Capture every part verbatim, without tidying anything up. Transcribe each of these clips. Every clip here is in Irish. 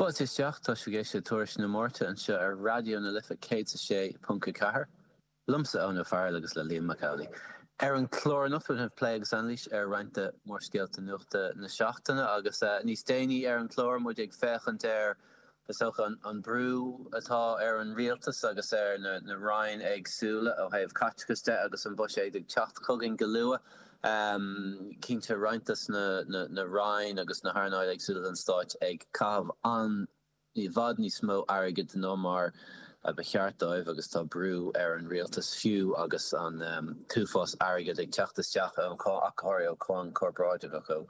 Fáilte isteach, tá sibh ag éisteacht le Tuairisc na Máirte anseo ar Raidió na Life céad is a sé ponc a ceathair. Liomsa Eoin Ó Fearghail agus le Liam Mac Amhlaigh. Ar an chlár anocht beidh plé agus anailís ar roinnt de mhórscéalta nuachta na seachtaine agus níos déanaí ar an chlár muid ag féachaint ar is dócha an brú atá ar an rialtas agus ar na na roinn éagsúla ó thaobh caiteachais de agus an buiséad ag teacht chugainn go luath. Cinnte roinnt de na na roinn agus na hearnáil éagsúla den stáit ag caitheamh an i bhfad níos mó airgid ná mar a ba cheart dóibh agus tá brú ar an rialtas fiú agus an t-uafás airgid ag teacht isteach ón ach go háirithe ó cháin chorparáideach ó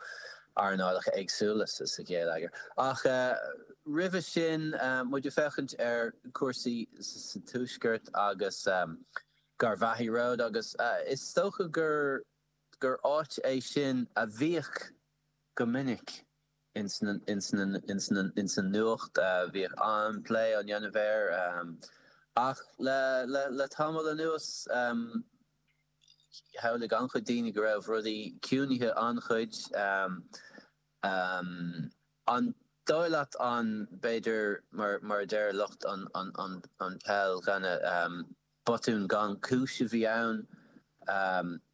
earnálacha éagsúla sa gheilleagar. Ach roimhe sin muid ag féachaint ar chúrsaí sa Tuaisceart agus Garvaghy Road agus is dócha gur gur áit é sin a bhíodh go minic ins an nuacht, bhíodh an-plé á dhéanamh air ach le le le tamall anuas shamhlaigh an-chuid daoine go raibh rudaí ciúnaithe an-chuid. An dóigh leat an b'fhéidir mar mar a deir lucht an an an an peil cheana botún gan chúis a bhí ann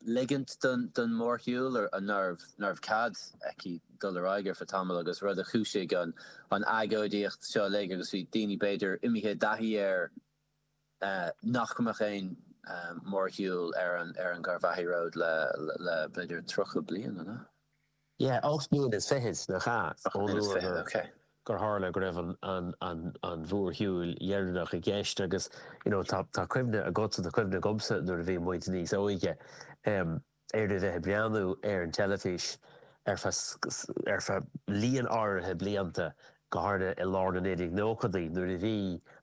ligint don mhórshiúl nárbh nárbh cead aici dul ar aghaidh ar feadh tamaill agus rud a chúisigh an an agóidíocht seo uilig agus bhí daoine b'fhéidir imithe i dtaithí air nach mbeadh aon mhórshiúl ar an ar an Garvaghy Road le le b'fhéidir tríocha bliain, an ea? Yeah, ocht mbliana is fichead, nach ea? Ocht mbliana is fichead, ok. Gur tharla go raibh an an an an mhórshiúl dheireanach i gceist agus you know tá tá cuimhne agatsa, tá cuimhne agamsa nuair a bhí muid níos óige ar a bheith ag breathnú ar an teilifís ar feadh ar feadh líon áirithe blianta, go háirithe i lár na naoi déag nóchaidí nuair a bhí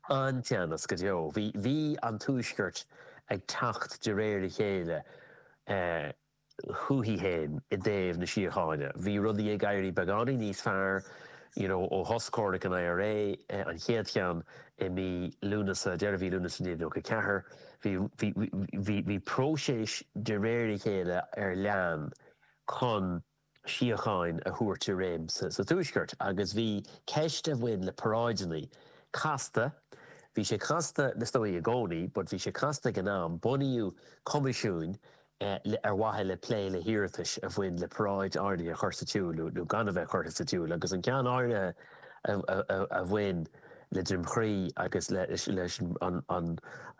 an-teannas go deo. Bhí bhí an Tuaisceart ag teacht de réir a chéile chuici féin i dtaobh na síochána. Bhí rudaí ag éirí beagáinín níos fearr you know ó thosach comhrac an I R A, an chéad cheann i mí Lúnasa, deireadh mhí Lúnasa naoi déag nócha a ceathair. Bhí bhí bhí bhí próiseas de réir a chéile ar lean chun síocháin a thabhairt i réim sa sa Tuaisceart agus bhí ceist a bhain le paráideanna casta. Bhí sé casta is dóigh i gcónaí, but bhí sé casta ag an am. Bunaíodh coimisiúin ar mhaithe le plé le hiarratais a bhain le paráid áirithe a chur sa tsiúl nó gan a bheith curtha sa tsiúl agus an ceann áirithe a bhain le Droim Chrí agus leis an an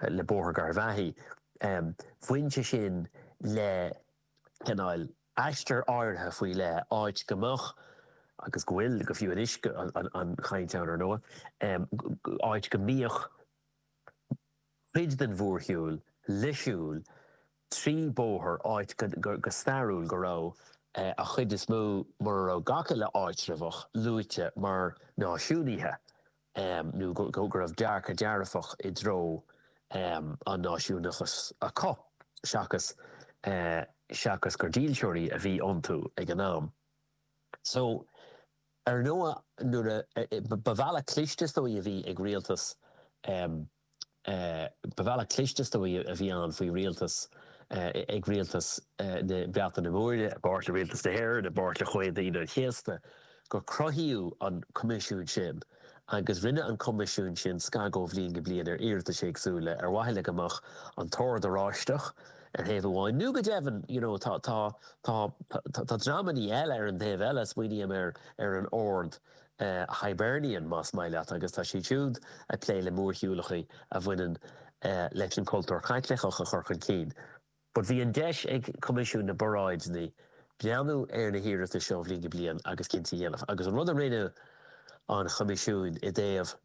le Bóthar Garvaghy. Bhain sé sin le cineál aistear áirithe faoi leith, áit go mbeadh agus go bhfuil go fiú anois an chaint ann ar ndóigh, áit go mbíodh cuid den mhórshiúl le siúl trí bóthar, áit go stairiúil go raibh a chuid is mó, mura raibh gach uile áitreabhach luaite mar náisiúnaithe nó go raibh dearcadh dearfach i dtreo an náisiúnachas acu seachas seachas gur dílseoirí a bhí iontu ag an am. So ar ndóigh nuair a ba bhealach cliste is dóigh a bhí ag rialtas, ba bhealach cliste is dóigh a bhí ann faoi rialtas ag rialtas na Breataine Móire, i bpáirt le rialtas na hÉireann, i bpáirt le Comhaontú Aoine an Chéasta, gur cruthaíodh an coimisiún sin agus rinne an coimisiún sin scagadh ó bhliain go bliain ar iarratais éagsúla ar mhaithe le go mbeadh an tOrd Oráisteach ar thaobh amháin nó go deimhin you know tá tá tá tá dreamanna eile ar an taobh eile, smaoiním ar ar an Ord Hibernian más maith leat, agus tá siad siúd ag plé le mórshiúlacha a bhaineann leis an cultúr Caitliceach a chur chun cinn. But bhí an deis ag Coimisiún na bParáideanna breathnú ar na hiarratais seo ó bhliain go bliain agus cinntí a dhéanamh. Agus an rud a rinne an Choimisiúin i dtaobh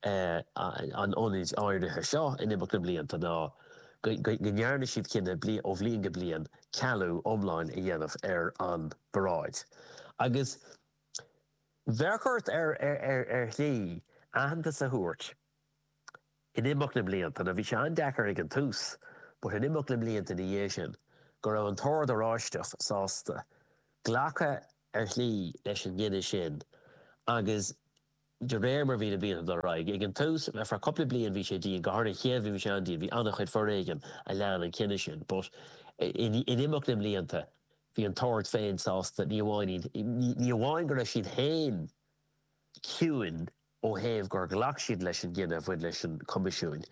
an ionaid áirithe seo in imeacht na mblianta ná go ndearna siad cinneadh ó bhliain go bliain cealú iomlán a dhéanamh ar an bparáid. Agus bheadh ort ar ar shlí aitheantas a thabhairt in imeacht na mblianta, nó bhí sé an-deacair ag an tús, but in imeacht na mblianta ina dhiaidh sin, go raibh an tOrd Oráisteach sásta glacadh ar shlí leis an gcinneadh sin agus de réir mar bhí na blianta ag dul ar aghaidh. Ag an tús, ar feadh cúpla bliain bhí sé dian, go háirithe an chéad bhliain bhí sé an-dian, bhí an-chuid foréigin a lean an cinneadh sin, but in imeacht na mblianta bhí an tOrd féin sásta, ní amháin ní amháin go raibh siad féin ciúin ó thaobh gur ghlac siad leis an gcinneadh a bhain leis an Coimisiún,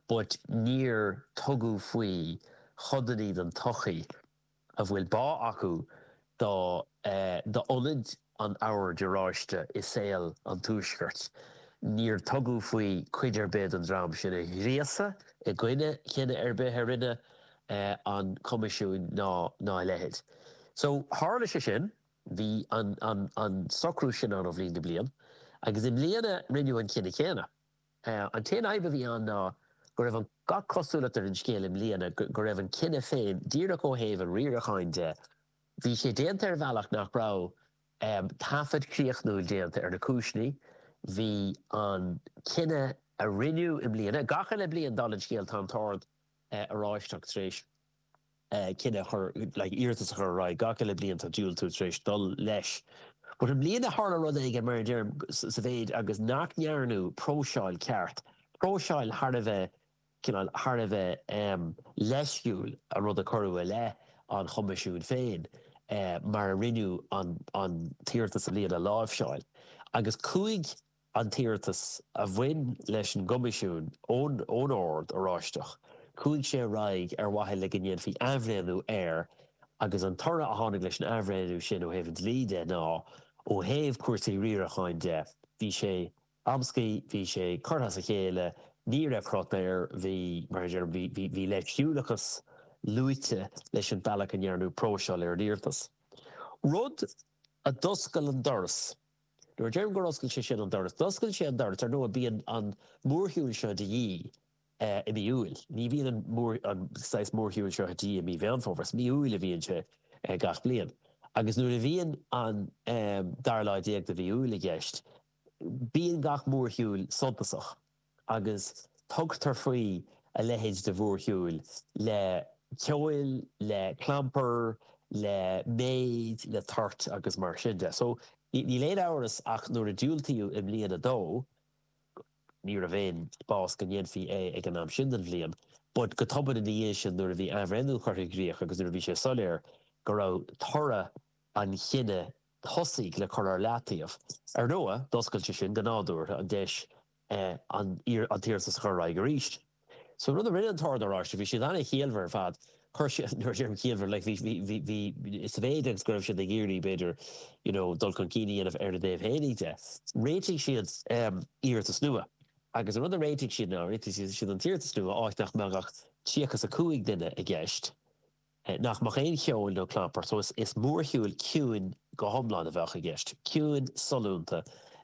but níor tugadh faoi chodanna den tsochaí a bhfuil bá acu do d'ionad an Oird Oráiste i saol an Tuaiscirt. Níor tugadh faoi cuid ar bith den dream sin a ghríosadh i gcoinne chinneadh ar bith a rinne an Coimisiún ná ná a leithéid. So tharla sé sin, bhí an an an socrú sin ann ó bhliain go bliain, agus i mbliana rinneadh an cinneadh céanna. An t-aon fhadhb a bhí ann ná go raibh an gach cosúlacht ar an scéal i mbliana go raibh an cinneadh féin díreach ó thaobh an riaracháin de, bhí sé déanta ar bhealach nach raibh taifead críochnúil déanta ar na cúiseanna. Bhí an cinneadh a rinneadh i mbliana, gach uile bliain dála an scéil tá an tOrd Oráisteach tar éis cinneadh a chur, like iarratas a chur ar aghaidh, gach uile bliain tá diúltú tar éis dul leis. But i mbliana tharla rud éigin mar a deirim sa mhéid agus nach ndearnadh próiseáil ceart, próiseáil thar a bheith cineál thar a bheith leisciúil an rud a cuireadh i leith an Choimisiúin féin mar a rinneadh an an t-iarratas i mbliana a láimhseáil. Agus chuaigh an t-iarratas a bhain leis an gCoimisiún ón ón Ord Oráisteach, chuaigh sé ar aghaidh ar mhaithe le go ndéanfaí athbhreithniú air agus an toradh a tháinig leis an athbhreithniú sin ó thaobh an dlí de ná ó thaobh cúrsaí riaracháin de, bhí sé amscaí, bhí sé curtha as a chéile, ní raibh crot air, bhí, mar a deirim, bhí, bhí, bhí leisciúlachas luaite leis an bealach a ndearnadh próiseáil ar an iarratas. Rud a d'oscail an doras. Nuair a deirim gur oscail sé sin an doras, d'oscail sé an doras, ar ndóigh bíonn an mórshiúl seo de dhíth i mí Iúil. Ní bhíonn an mór, an saghas mórshiúil seo de dhíth i mí Mheán Fómhair, is mí Iúil a bhíonn sé gach bliain. Agus nuair a bhíonn an dara lá déag de mhí Iúil i gceist, bíonn gach mórshiúl suntasach. Agus tugtar faoi a leithéid de mhórshiúil le ceol, le clampar, le méid, le toirt agus mar sin de. So, níl aon amhras ach nuair a diúltaíodh i mbliana dó, ní raibh aon spás go ndéanfaí é ag an am sin den bhliain, but go tobann ina dhiaidh sin nuair a bhí athbhreithniú curtha i gcrích agus nuair a bhí sé soiléir go raibh toradh an chinnidh tosaigh le cur ar leataobh, ar ndóigh, d'oscail sé sin go nádúrtha an deis an t-iarratas a chur ar aghaidh arís. So an rud a rinne an tOrd Oráisteach, bhí siad an-chiallmhar ar fad, chuir siad, nuair a deirim ciallmhar, like bhí, bhí, bhí, bhí, sa mhéid agus go raibh siad ag iarraidh, b'fhéidir, you know, dul chun cinn a dhéanamh ar a dtaobh fhéinig de, réitigh siad iarratas nua. Agus an rud a réitigh siad ná, réitigh siad an t-iarratas nua áit nach mbeadh ach tríocha is a cúig duine i gceist, nach mbeadh aon cheol nó clampar, so is mórshiúl ciúin go hiomlán a bheadh i gceist, ciúin, sollúnta,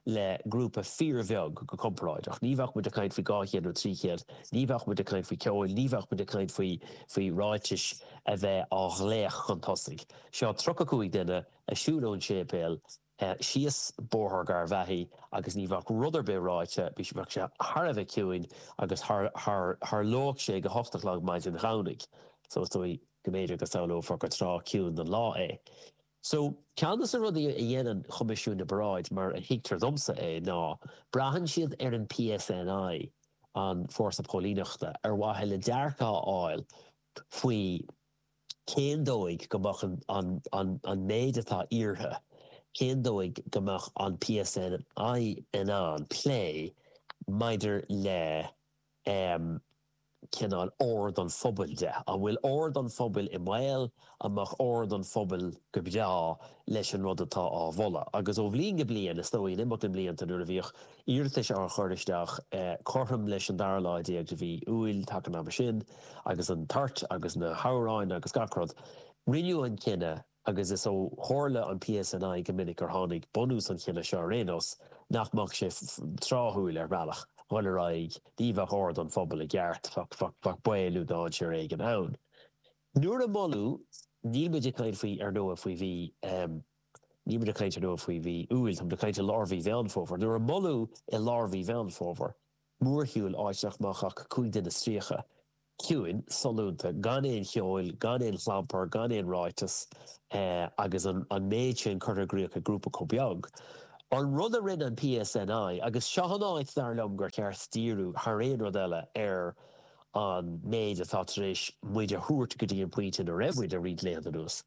le grúpa fíorbheag go comparáideach. Ní bheadh muid ag caint faoi dhá chéad nó trí chéad, ní bheadh muid ag caint faoi cheol, ní bheadh muid ag caint faoi faoi ráitis a bheith á nglaoch chun tosaigh. Seo tríocha cúig duine ag siúl ón séipéal síos Bóthar Gharbhachaidh agus ní bheadh rud ar bith ráite, bheadh sé thar a bheith ciúin agus tharlódh sé ag a hocht a chlog maidin Dhomhnaigh. So is dóigh go mb'fhéidir go samhlófar gur tráth ciúin den lá é. So, ceann de na rudaí a dhéanann Coimisiún na bParáid, mar a thuigtear domsa é, ná braitheann siad ar an PSNI, an fórsa póilíneachta, ar mhaithe le dearcadh a fháil faoi cén dóigh go mbeadh an an an méid atá iarrtha, cén dóigh go mbeadh an PSNI in ann plé maidir le cineál ord an phobail de. An bhfuil ord an phobail i mbaol? An mbeadh ord an phobail go breá leis an rud atá á mholadh? Agus ó bhliain go bliain, is dóigh, in imeacht na mblianta, nuair a bhíodh iarratais á chur isteach cothrom leis an dara lá déag de mhí Iúil, taca an ama sin, agus an toirt agus na hamhráin agus gach rud, rinneadh an cinneadh, agus is ó chomhairle an PSNI go minic gur tháinig bunús an chinnidh seo ar aon nós, nach mbeadh sé tráthúil ar bhealach dhul ar aghaidh, ní bheadh ord an phobail i gceart, bheadh baol nó dainséar éigin ann. Nuair a moladh, níl muid ag caint faoi, ar ndóigh, faoi mhí, níl muid ag caint ar ndóigh faoi mhí Iúil, tá muid ag caint i lár mhí Mheán Fómhair, nuair a moladh i lár mhí Mheán Fómhair, mórshiúl áit nach mbeadh ach cúig duine is tríocha, ciúin, sollúnta, gan aon cheol, gan aon chlampar, gan aon ráiteas, agus an méid sin curtha i gcrích ag grúpa chomh beag. An rud a rinne an PSNI, agus seo an áit, dar liom, gur cheart díriú thar aon rud eile ar an méid atá tar éis muid a thabhairt go dtí an pointe ina raibh muid le roinnt laethanta anuas,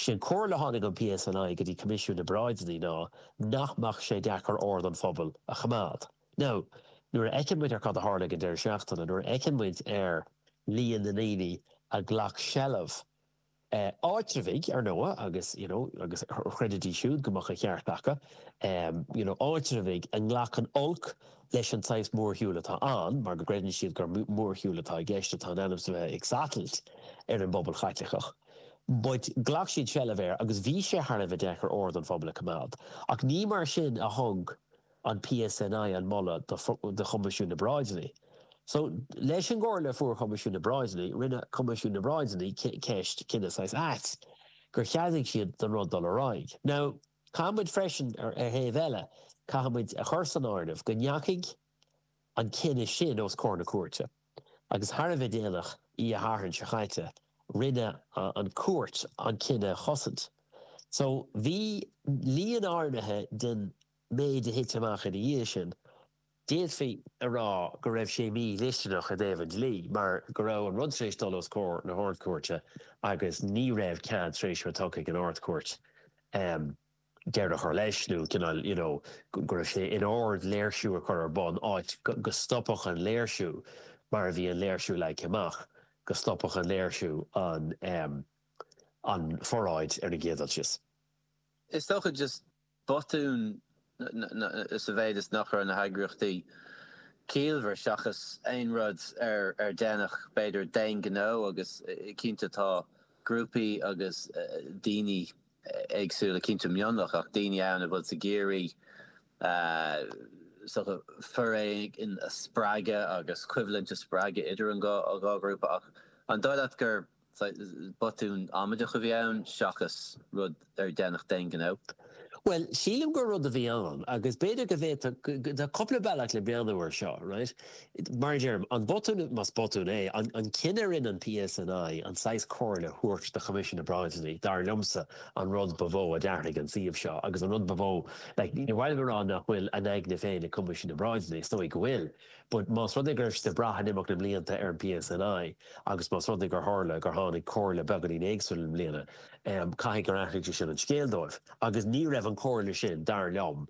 sé an chomhairle a tháinig ón PSNI go dtí Coimisiún na bParáideanna ná nach mbeadh sé deacair ord an phobail a choimeád. Now, nuair a fheiceann muid ar cad a tharla ag an deireadh seachtaine, nuair a fheiceann muid ar líon na ndaoine a ghlac seilbh, áitreabhaigh, ar ndóigh, agus, you know, agus chreidfidís siúd go mbeadh an cheart acu, you know, áitreabhaigh a nglacann olc leis an saghas mórshiúil atá ann, mar go gcreideann siad gur mórshiúl atá i gceist atá in ainm is a bheith ag satailt ar an bpobal Chaitliceach. But ghlac siad seilbh air agus bhí sé thar a bheith deacair ord an phobail a choimeád. Ach ní mar sin a thug an PSNI an moladh do Choimisiún na bParáideanna. So, leis an gcomhairle a fuair Coimisiún na bParáideanna, rinne Coimisiún na bParáideanna ceist, cinneadh saghas ait, gur cheadaigh siad don rud dul ar aghaidh. Now, caithfidh muid freisin, ar thaobh eile, caithfidh muid a chur san áireamh go ndeachaigh an cinneadh sin os comhair na cúirte agus thar a bheith déanach, Oíche Shathairn seo chaite, rinne an chúirt an cinneadh a chosaint. So, bhí líon áirithe den méid a thit amach ina dhiaidh sin, d'fhéadfaí a rá go raibh sé mídhlisteanach i dtaobh an dlí, mar go raibh an rud tar éis dul os comhair na hArd-Chúirte agus ní raibh cead tar éis a bheith tugtha ag an Ard-Chúirt deireadh a chur leis nó cineál you know go raibh sé in ord léirsiú a chur ar bun áit go stopfadh an léirsiú mar a bhí an léirsiú leagtha amach, go stopfadh an léirsiú an an pharáid ar an gcéad dul síos. Is dócha just botún sa mhéid is nach raibh na heagraíochtaí ciallmhar seachas aon rud ar ar déanadh b'fhéidir d'aon ghnó agus cinnte tá grúpaí agus daoine éagsúla, cinnte mionlach ach daoine ann a bhfuil ag iarraidh foréigean a spreagadh agus coimhlint a spreagadh idir an dhá ghrúpa ach an dóigh leat gur Botún amaideach a bhí ann seachas rud ar déanadh d'aon ghnó. Bhuel, sílim gur rud a bhí ann, agus b'fhéidir go bhféadfadh, tá cúpla bealach le breathnú air seo, right? Mar a deirim, an botún, más botún é, an cinneadh a rinne an PSNI an saghas comhairle a thabhairt do Choimisiún na bParáideanna, dar liomsa, an rud ba mhó a d'athraigh an suíomh seo agus an rud ba mhó, like, ní mhaith liom a rá nach bhfuil a n-aigne féin ag Coimisiún na bParáideanna, is dóigh go bhfuil, But más rud é go raibh siad ag brath in imeacht na mblianta ar an PSNI agus más rud é gur tharla gur tháinig comhairle beagáinín éagsúil i mbliana, caithfidh gur athraigh sé sin an scéal dóibh. Agus ní raibh an chomhairle sin, dar liom,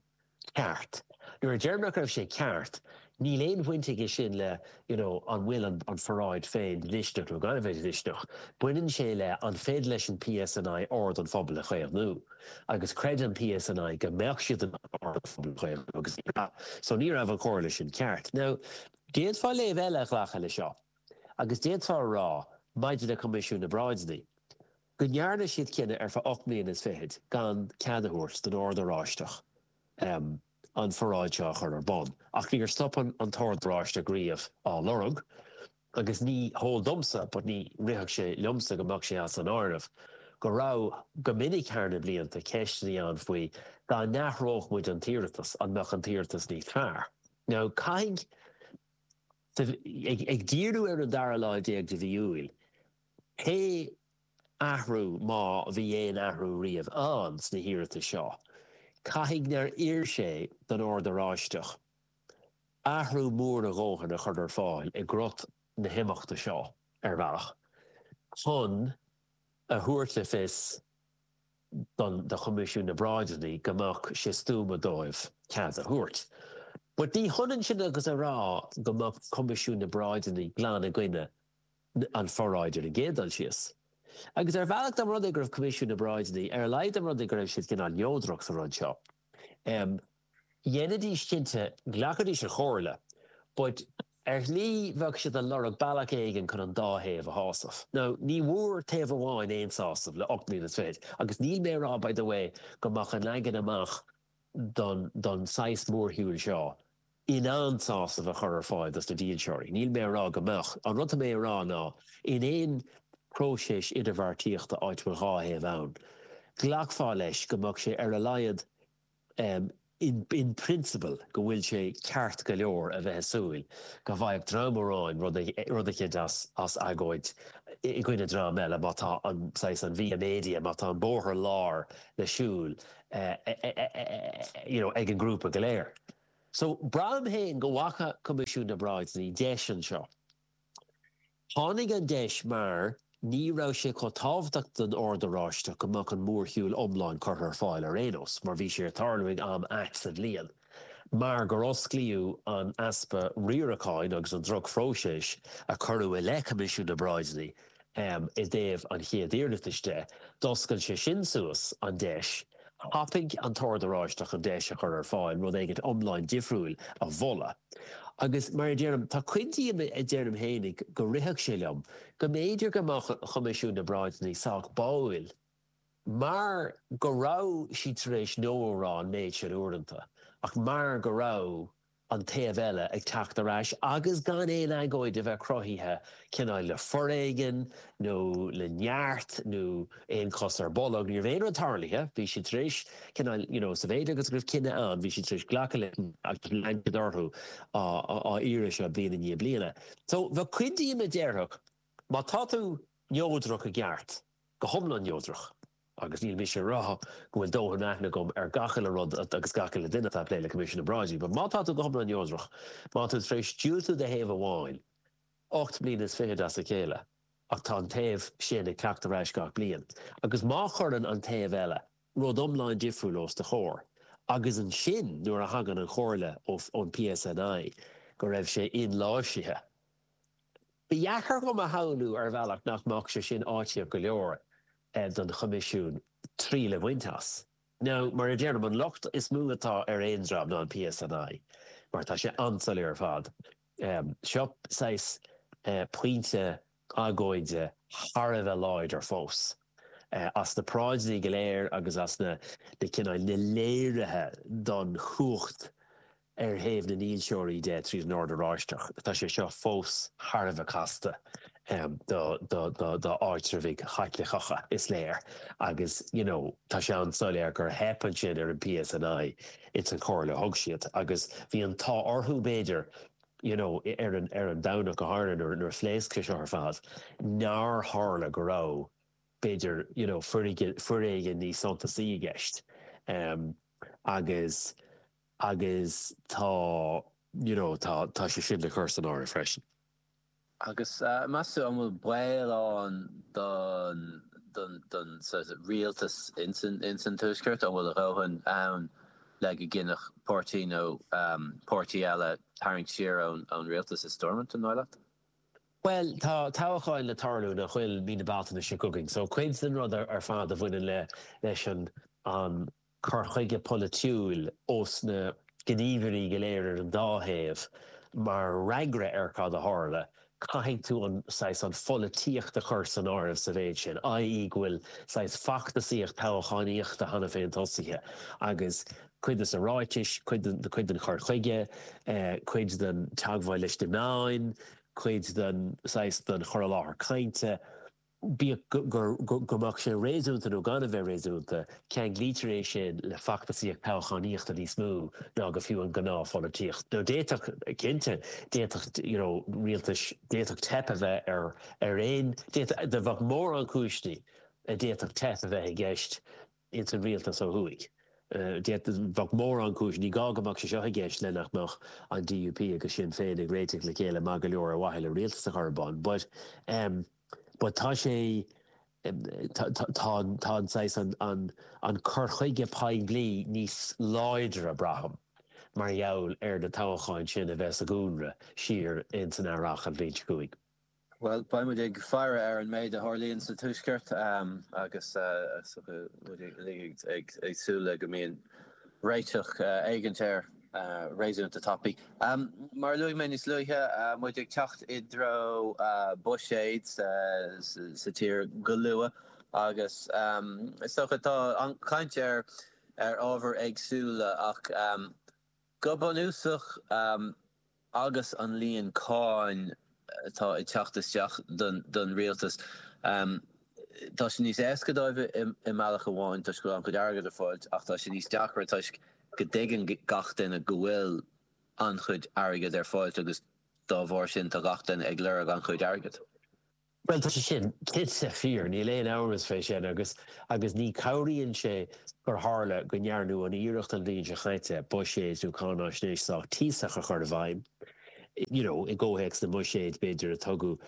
ceart. Nuair a deirim nach raibh sé ceart, níl aon bhaint aige sin le you know an bhfuil an pharáid féin dlisteanach nó gan a bheith dlisteanach. Baineann sé le an féidir leis an PSNI ord an phobail a chaomhnú. Agus chreid an PSNI go mbeadh siad in ann ord an phobail a chaomhnú agus ní raibh. So ní raibh an chomhairle sin ceart. Now, d'fhéadfá léamh eile a ghlacadh le seo agus d'fhéadfá a rá maidir le Coimisiún na bParáideanna go ndearna siad cinneadh ar feadh ocht mbliana is fichead gan cead a thabhairt don Ord Oráisteach an pharáid seo a chur ar bun. Ach níor stop an tOrd Oráisteach riamh á lorg. Agus ní heol domsa, but ní rithfeadh sé liomsa go mbeadh sé as an áireamh, go raibh, go minic thar na blianta, ceisteanna ann faoi dá n-athródh muid an t-iarratas, an mbeadh an t-iarratas níos fearr? Now, caithfidh, ag díriú ar an dara lá déag de mhí Iúil, pé athrú, má bhí aon athrú riamh ann sna hiarratais seo, caithfidh nár oir sé don Ord Oráisteach athrú mór a dhóthain a chur ar fáil i gcrot na himeachta seo, ar bhealach, chun a thabhairt le fios don do Choimisiún na bParáideanna go mbeadh sé stuama dóibh cead a thabhairt. But ní hionann sin agus a rá go mbeadh Coimisiún na bParáideanna glan i gcoinne an pharáid ar an gcéad dul síos. Agus ar bhealach dá mba rud é go raibh Coimisiún na bParáideanna, ar a laghad dá mba rud é go raibh siad cineál neodrach sa rud seo, Dhéanfaidís cinnte, ghlacfaidís an chomhairle, but ar shlí bheadh siad ag lorg bealach éigin chun an dá thaobh a shásamh. Now, ní bhfuair taobh amháin aon sásamh le ocht mbliana is fiche, agus níl mé ag rá, by the way, go mbeadh an leagan amach don don saghas mórshiúil seo in ann sásamh a chur ar fáil dos na dílseoirí. Níl mé ag rá go mbeadh. An rud atá mé ag rá ná, in aon próiseas idirbheartaíochta áit a bhfuil dhá thaobh ann, ghlacfá leis go mbeadh sé ar a laghad in principle, go bhfuil sé ceart go leor a bheith ag súil go bhfaigheadh dream amháin rud eicínt as agóid i gcoinne dream eile má tá an saghas, an via media, má tá an bóthar láir le siúl you know ag an ngrúpa go léir. So, braithim féin go bhfaca Coimisiún na bParáideanna deis anseo. Tháinig an deis mar ní raibh sé chomh tábhachtach don Ord Oráisteach go mbeadh an mórshiúl iomlán curtha ar fáil ar aon nós, mar bhí sé ag tarlú ag am ait sa bhliain. Mar gur osclaíodh an easpa riaracháin agus an drochphróiseas a cuireadh i leith Choimisiún na bParáidiní i dtaobh an chéad iarratais de, d'oscail sé sin suas an deis. Thapaigh an tOrd Oráisteach an deis a chur ar fáil rud éigin iomlán difriúil a mholadh. Agus mar a deirim, tá cuid díom a deirim fhéinig go rithfeadh sé liom go mb'fhéidir go mbeadh Coimisiún na bParáidiní sách báúil mar go raibh siad tar éis no a rá an méid sin uaireanta, ach mar go raibh an taobh eile ag teacht ar ais agus gan aon agóid a bheith cruthaithe cineál le foréigean nó le neart nó aon chos ar bolg. Ní raibh aon rud tarlaithe, bhí siad tar éis cineál, you know, sa mhéid agus go raibh cinneadh ann, bhí siad tar éis glacadh leis agus lean siad orthu á iarraidh seo bliain i ndiaidh bliana. So bheadh cuid díom a déarfadh, má tá tú neodrach i gceart, go hiomlán neodrach, agus níl mise ag rá go bhfuil dóthain aithne agam ar gach uile rud agus gach uile duine atá ag plé le Coimisiún na bParáidí, but má tá tú go hiomlán neodrach, má tá tú tar éis diúltú do thaobh amháin ocht mbliana is fichead as a chéile, ach tá an taobh sin ag teacht ar ais gach bliain, agus má chuireann an taobh eile rud iomlán difriúil os do chomhair, agus ansin nuair a thagann an chomhairle ón PSNI go raibh sé inláimhsithe. Ba dheacair dhom a shamhlú ar bhealach nach mbeadh sé sin áitíoch go leor don Choimisiún triail a bhaint as. Now, mar a deirim, an locht is mó atá ar aon dream ná an PSNI, mar tá sé an-soiléir ar fad. Seo saghas pointe agóide thar a bheith láidir fós. As na paráidí go léir agus as na cineáil na léirithe don chumhacht ar thaobh na ndílseoirí de tríd an Ord Oráisteach, tá sé seo fós thar a bheith casta do áitreabhaigh Chaitliceacha, is léir, agus you know tá sé an-soiléir gur theip ansin ar an PSNI ins an chomhairle a thug siad agus bhí an t-ádh orthu b'fhéidir you know ar an ar an Domhnach go háirithe nuair nuair a phléasc sé seo ar fad nár tharla go raibh b'fhéidir you know foréigean níos suntasaí i gceist agus agus tá you know tá tá sé sin le cur san áireamh freisin. Agus meas tú an bhfuil baol ann don don don rialtas ins an Tuaisceart, an bhfuil a dhóthain ann le go gcinnfeadh páirtí nó páirtí eile tarraingt siar ón ón rialtas i Stormont, an dóigh leat? Bhuel, tá toghcháin le tarlú nach bhfuil mí na Bealtaine seo chugainn, so cuid den rud ar fad a bhaineann le leis an an cur chuige polaitiúil ós na gníomhairí go léir ar an dá thaobh mar fhreagra ar cad a tharla, caithfidh tú an saghas an pholaitíocht a chur san áireamh sa mhéid sin, i.e. go bhfuil saghas feachtasaíocht toghchánaíochta cheana féin tosaithe agus cuid de na ráitis, cuid den cuid den chur chuige, cuid den teagmháil leis na meáin, cuid den saghas den chur i láthair cainte. Bíodh go mbeadh sé réasúnta nó gan a bheith réasúnta, ceanglaítear é sin le feachtasaíocht toghchánaíochta níos mó ná go fiú an ghnáthpholaitíocht. Nó d'fhéadfadh, cinnte, d'fhéadfadh you know rialtais, d'fhéadfadh teip a bheith ar ar aon, d'fhéadfadh, bheadh mórán cúiseanna a d'fhéadfadh teip a bheith i gceist ins an rialtas ó thuaidh. D'fhéadfadh, bheadh mórán cúiseanna, ní gá go mbeadh sé seo i gceist le nach mbeadh an DUP agus Sinn Féin ag réiteach le chéile maith go leor ar mhaithe le rialtas a chur ar bun. But um. But tá sé, tá tá an saghas an an an cur chuige poiblí níos láidre braithim mar gheall ar na toghcháin sin a bheith sa gcónra siar ins an earrach an bhliain seo chugainn. Bhuel, beidh muid ag faire ar an méid a tharlaíonn sa Tuaisceart agus muid uilig ag súil le go mbíonn réiteach éigint air. réasúnta tapaidh. Mar a luaigh mé níos luaithe, muid ag teacht i dtreo buiséid sa tír go luath agus is dócha tá an chaint ar ar ábhair éagsúla ach go bunúsach agus an líon cáin atá ag teacht isteach don rialtas, tá sé níos éasca dóibh i mbealach amháin toisc go bhfuil an-chuid airgid ar fáil ach tá sé níos deacra toisc go dtuigeann gach duine go bhfuil an-chuid airgid ar fáil agus dá bharr sin tá gach duine ag lorg an-chuid airgid. Bhuel, tá sé sin cinnte fíor, níl aon amhras fé sin agus agus ní chabhraíonn sé gur tharla go ndearnadh an iarracht an bhliain seo chaite buiséad nó cáináisnéis sách tíosach a chur i bhfeidhm, you know, i gcomhthéacs na mbuiséad b'fhéidir a tugadh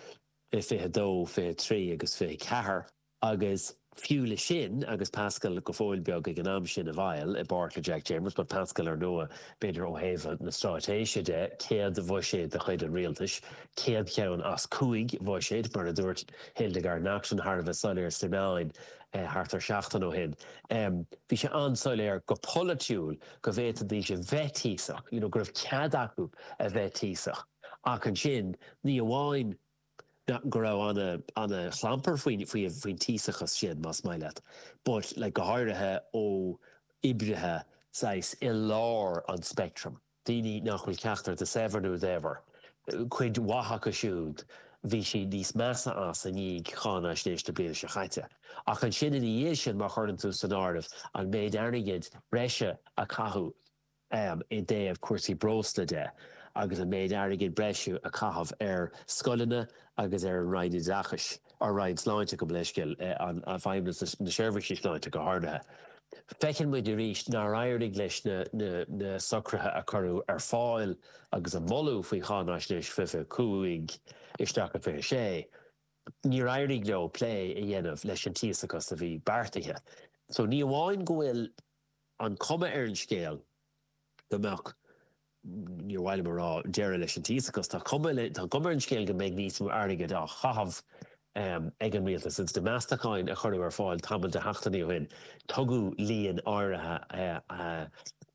i fiche a dó, fiche a trí agus fiche a ceathair agus Fiú le sin agus Pascal go fóill beag ag an am sin i bhfeighil i bpáirt le Jack Chambers, but Pascal ar ndóigh b'fhéidir ó thaobh na straitéise de céad bhuiséad de chuid an rialtais, céad cheann as cúig bhuiséad mar a dúirt Hildegarde Naughton thar a bheith soiléir sna meáin eh, thart ar seachtain ó shin. Um, bhí sé an-soiléir go polaitiúil go bhféadfaidís a bheith tíosach, you know, go raibh cead acu a bheith tíosach. Ach ansin ní amháin go raibh an an-chlampar faoin faoin tíosachas sin más maith leat, but le go háirithe ó oibrithe saghas i lár an spectrum. Daoine nach bhfuil ceachtar de shaibhir nó daibhir. Cuid mhaith acu siúd bhí siad níos measa as i ndiaidh cháinaisnéis na bliana seo caite. Ach ansin ina dhiaidh sin má chuireann tú san áireamh an méid airgid breise a caitheadh um, i dtaobh cúrsaí breosla de agus an méid airgid breise a caitheadh ar scoileanna agus ar an Roinn Oideachais ar Roinn Sláinte go leiscil eh, an feidhmeannas na seirbhísí sláinte go háirithe. Feiceann muid arís nár éirigh leis na, na, na socruithe a cuireadh ar fáil agus a moladh faoi cháinaisnéis fiche cúig isteach a fiche sé. Níor éirigh leo plé a dhéanamh leis an tíosachas a bhí beartaithe. So ní amháin go bhfuil an cuma ar an scéal go mbeadh níor mhaith liom a rá deireadh leis an tíosachas tá cuma tá cuma ar an scéal go mbeidh níos mó airgid á chaitheamh um, ag an rialtas ins na meastacháin a cuireadh ar fáil tamall de sheachtainí ó shin tugadh líon áirithe uh, uh,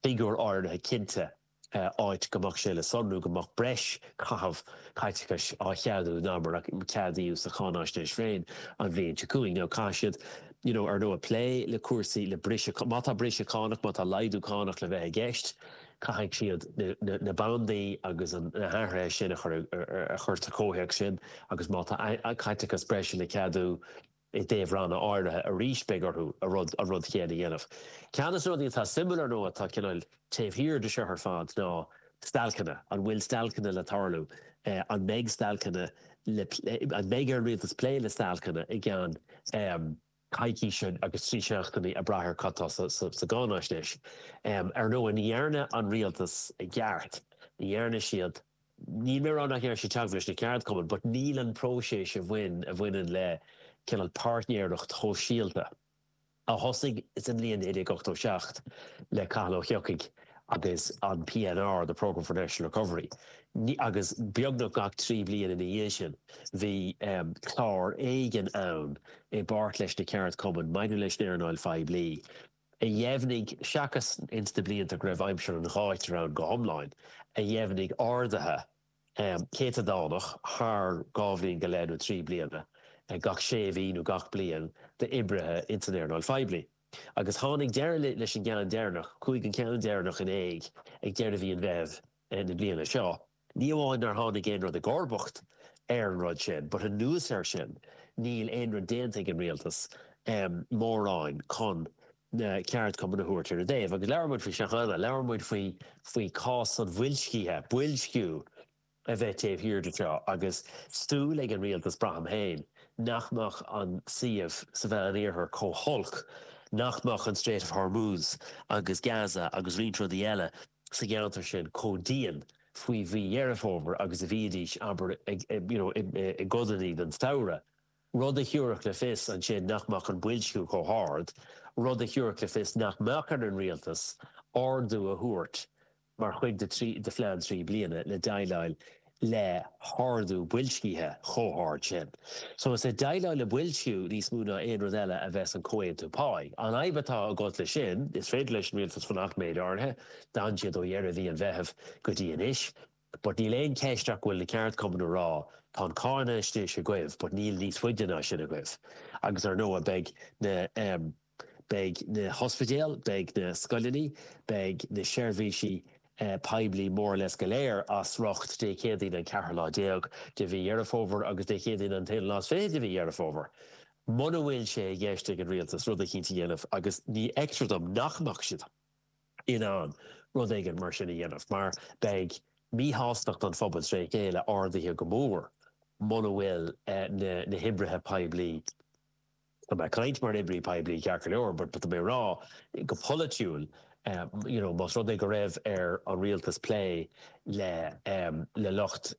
figiúr áirithe cinnte uh, áit go mbeadh sé le sonrú go mbeadh breis caitheamh caiteachais á cheadú ná mar a ceadaíodh sa cháinaisnéis féin an bhliain seo chugainn nó caithfidh siad you know, ar ndóigh plé le cúrsaí le briseadh má tá briseadh cánach má tá laghdú cánach le bheith i gceist, caithfidh siad na, na, na bandaí agus an na hathruithe sin a chur a chur sa chomhthéacs sin agus má tá caiteachas breise le ceadú i dtaobh ranna áirithe arís beidh orthu a rud a rud chéanna a dhéanamh. Ceann de na rudaí atá suimiúil ar ndóigh atá cineál taobh thiar de seo ar fad ná stailceanna, an bhfuil stailceanna le tarlú, eh, an mbeidh stailceanna le an mbeidh ar an rialtas plé le stailceanna i gceann um, coicíse agus trí seachtainí ag brath ar cad atá sa, sa, sa gcáinaisnéis. Um, ar ndóigh ní dhearna an rialtas i gceart, ní dhearna siad Níl mé ag rá nach ndearna siad teagmháil leis na ceardchumainn, but níl an próiseas a bhain a bhaineann le cineál páirtnéireacht shóisialta. A thosaigh sa mbliain naoi déag ochtó seacht le Cathal Ó hEochaidh agus an PNR, the Programme for National Recovery. Ní, agus beagnach gach trí bliana ina dhiaidh sin bhí um, clár éigin ann i bpáirt leis na ceardchumainn maidir leis an earnáil phoiblí a dheimhnigh seachas ins na blianta go raibh aimsir an ghátair ann go hiomlán, a dheimhnigh arduithe um, céatadánach thar dhá bhliain go leith nó trí bliana gach sé mhí nó gach bliain d'oibrithe ins an earnáil phoiblí. Agus tháinig deireadh leis an gceann deireanach, chuaigh an ceann deireanach in éag ag deireadh mhí an Mheithimh na bliana seo. Ní amháin nár tháinig aon rud i gcomharbacht ar an rud sin, but anuas air sin níl aon rud déanta ag an rialtas um, mórán chun na ceardchumainn a thabhairt ar a dtaobh. Agus labhair muid faoi seo cheana, labhair muid faoi faoi chás an bhoilscithe, boilsciú a bheith taobh thiar de seo agus súil ag an rialtas braithim féin nach mbeadh an suíomh sa Mheánoirthear chomh holc, nach mbeadh an Strait of Hormuz agus Gaza agus roinnt rudaí eile sa gceantar sin chomh dian faoi mhí Dheireadh Fómhair agus a bhídís abair you know, i gcodanna den samhradh. Rud a thabharfadh le fios ansin nach mbeadh an boilsciú chomh hard, rud a thabharfadh le fios nach mbeadh ar an rialtas ardú a thabhairt mar chuid de trí de phlean trí bliana le déileáil le hardú boilscithe chomh hard sin. So is ag déileáil le boilsciú níos mó ná aon rud eile a bheas an comhaontú páí. An fhadhb atá agat leis sin, is féidir leis an rialtas fanacht méid áirithe, d'fhan siad ó dheireadh mhí an Mheithimh go dtí anois, but níl aon cheist ach go bhfuil na ceardchumainn ag rá tá an cáinaisnéis agaibh, but níl níos faide ná sin agaibh. Agus ar ndóigh beidh na um, beidh na hospidéil, beidh na scoileanna, beidh na seirbhísí poiblí more or less go léir as riocht Dé Céadaoin an ceathrú lá déag de mhí Dheireadh Fómhair agus Dé Céadaoin an t-aonú lá is fiche de mhí Dheireadh Fómhair. Muna bhfuil sé i gceist ag an rialtas rud eicínt a dhéanamh agus ní fheictear dom nach mbeadh siad in ann rud éigin mar sin a dhéanamh mar beidh míshástacht an phobail tré chéile ardaithe go mór muna bhfuil na na hoibrithe poiblí Tá mé ag caint mar oibrí poiblí ceart go leor, but tá mé ag rá go polaitiúil, you know, más rud é go raibh ar an rialtas plé le le lucht